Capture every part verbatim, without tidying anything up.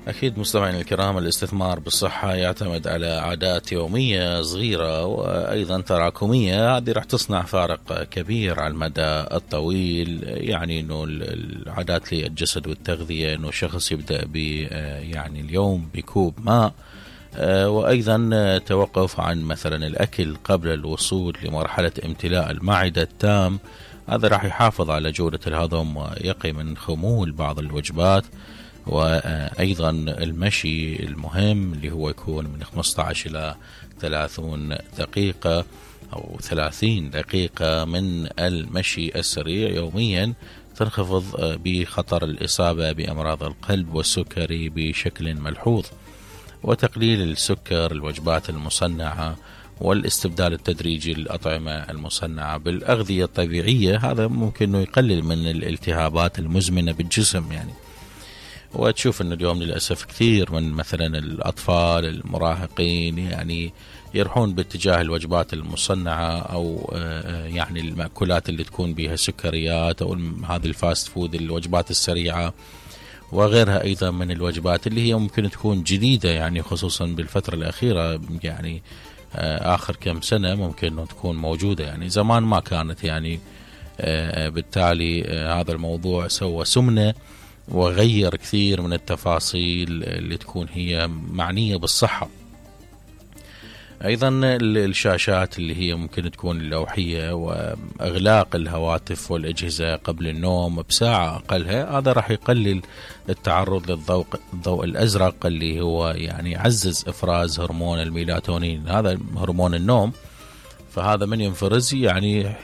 أكيد مستمعينا الكرام، الاستثمار بالصحة يعتمد على عادات يومية صغيرة وأيضا تراكمية، هذه راح تصنع فارق كبير على المدى الطويل. يعني إنه العادات للجسد والتغذية، إنه شخص يبدأ ب يعني اليوم بكوب ماء، وأيضا توقف عن مثلا الأكل قبل الوصول لمرحلة امتلاء المعدة التام، هذا راح يحافظ على جودة الهضم ويقي من خمول بعض الوجبات. وأيضا المشي المهم اللي هو يكون من خمسة عشر إلى ثلاثين دقيقة أو ثلاثين دقيقة من المشي السريع يوميا، تنخفض بخطر الإصابة بأمراض القلب والسكري بشكل ملحوظ. وتقليل السكر، الوجبات المصنعة، والاستبدال التدريجي للأطعمة المصنعة بالأغذية الطبيعية، هذا ممكن أنه يقلل من الالتهابات المزمنة بالجسم يعني. وتشوف أن اليوم للأسف كثير من مثلا الأطفال المراهقين يعني يروحون باتجاه الوجبات المصنعة أو يعني المأكولات اللي تكون بها سكريات أو هذه الفاست فود، الوجبات السريعة وغيرها أيضا من الوجبات اللي هي ممكن تكون جديدة، يعني خصوصا بالفترة الأخيرة، يعني آخر كم سنة ممكن أنه تكون موجودة، يعني زمان ما كانت يعني. بالتالي هذا الموضوع سوى سمنة وغير كثير من التفاصيل اللي تكون هي معنية بالصحة. أيضا الشاشات اللي هي ممكن تكون اللوحية وإغلاق الهواتف والأجهزة قبل النوم بساعة أقلها، هذا راح يقلل التعرض للضوء الضوء الأزرق اللي هو يعني يعزز إفراز هرمون الميلاتونين، هذا هرمون النوم. فهذا من ينفرز يعني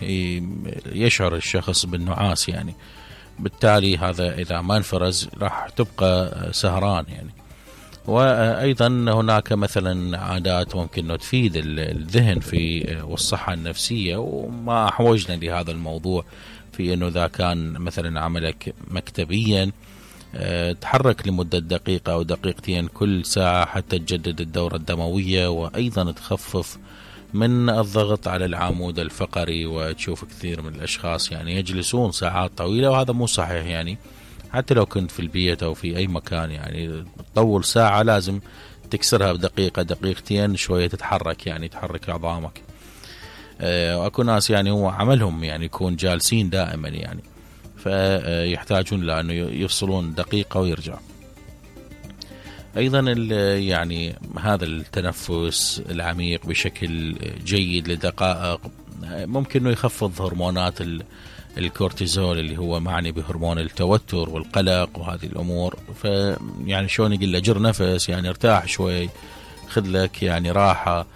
يشعر الشخص بالنعاس يعني، بالتالي هذا إذا ما انفرز راح تبقى سهران يعني. وأيضا هناك مثلا عادات ممكن تفيد الذهن في والصحة النفسية، وما أحوجنا لهذا الموضوع في أنه إذا كان مثلا عملك مكتبيا تحرك لمدة دقيقة أو دقيقتين كل ساعة حتى تجدد الدورة الدموية، وأيضا تخفف من الضغط على العمود الفقري. وتشوف كثير من الأشخاص يعني يجلسون ساعات طويلة، وهذا مو صحيح يعني. حتى لو كنت في البيت أو في أي مكان يعني تطول ساعة لازم تكسرها بدقيقة دقيقتين شوية، تتحرك يعني تحرك عظامك. وأكو ناس يعني هو عملهم يعني يكون جالسين دائما يعني، فيحتاجون لأنه يفصلون دقيقة ويرجع. أيضا يعني هذا التنفس العميق بشكل جيد لدقائق ممكن أنه يخفض هرمونات الكورتيزول اللي هو معني بهرمون التوتر والقلق وهذه الأمور. فيعني شلون يقول له جر نفس، يعني ارتاح شوي، خذ لك يعني راحة.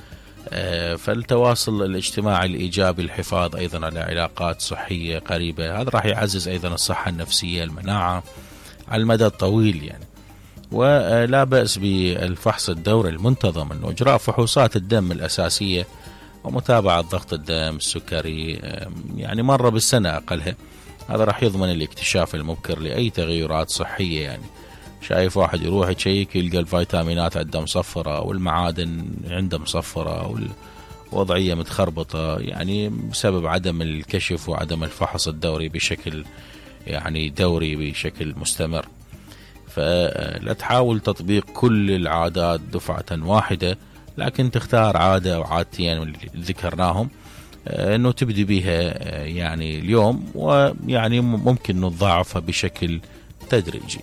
فالتواصل الاجتماعي الإيجابي، الحفاظ أيضا على علاقات صحية قريبة، هذا راح يعزز أيضا الصحة النفسية، المناعة على المدى الطويل يعني. ولا بأس بالفحص الدوري المنتظم، أنه إجراء فحوصات الدم الأساسية ومتابعة ضغط الدم، السكري، يعني مرة بالسنة أقلها، هذا راح يضمن الاكتشاف المبكر لأي تغيرات صحية يعني. شايف واحد يروح يشيك يلقى الفيتامينات عنده مصفرة والمعادن عنده مصفرة والوضعية متخربطة، يعني بسبب عدم الكشف وعدم الفحص الدوري بشكل يعني دوري بشكل مستمر. فلا تحاول تطبيق كل العادات دفعة واحدة، لكن تختار عادة أو عادتين اللي ذكرناهم أنه تبدي بها يعني اليوم، ويعني ممكن نضاعفها بشكل تدريجي.